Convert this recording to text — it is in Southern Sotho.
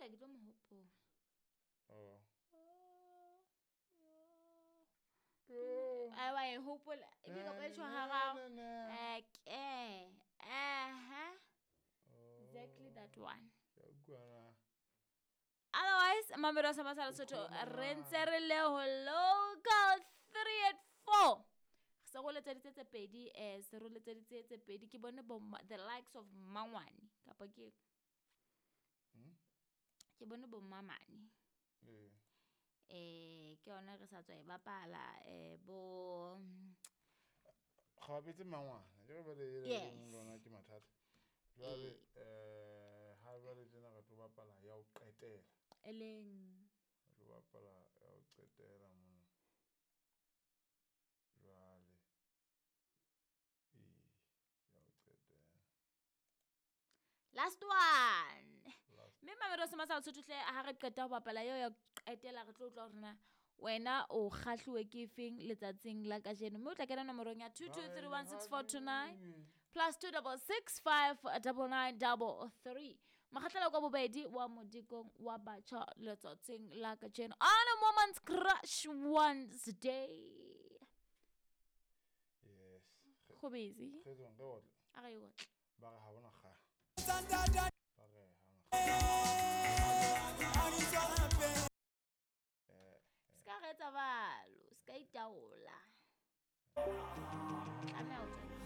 ka ke tlo mo hopola. Oh. Ai wa e hopola e bile kapa e tjho hararo. Okay. Aha. Exactly that one. Ke a utlwa na. Otherwise, Mamelodi sa Masala Sotho re ntse re le ho local 384. Re se go letseditse tse pedi se re letseditse tse pedi ke bone bo the likes of Mangwane kapa ke ke bone bo Mamane. Ee. Ke yona re sa tswa e bapala bo Ga bapetse mangwana. Ke re bale e Yes. lona ke mathata. Jwale ha jwale tjena re tlo bapala ya ho qetela. E leng Re tlo bapala ya ho qetela mona. Jwale ee, ya ho qetela. Last one. Last. Mme Mamelodi sa Masala Sotho hle ha re qeta ho bapala eo ya ho qetela re tlo utlwa hore na wena o kgahluwe ke efeng letsatsing la kajeno. Mme o tla kena nomorong ya 22316429 plus 2 6 6 5 9 9 3. Makgatlela kwa bobedi wa modikong wa batjha letsatsing la kajeno. On a Woman's Crush Wednesday. Yes. Go busy. Re tswang re otle. A re otle. Ba re ha bona kga. Ba re ha ona kga. Se ka re etsa balo, se ka itaola. Tlameha ho tswela.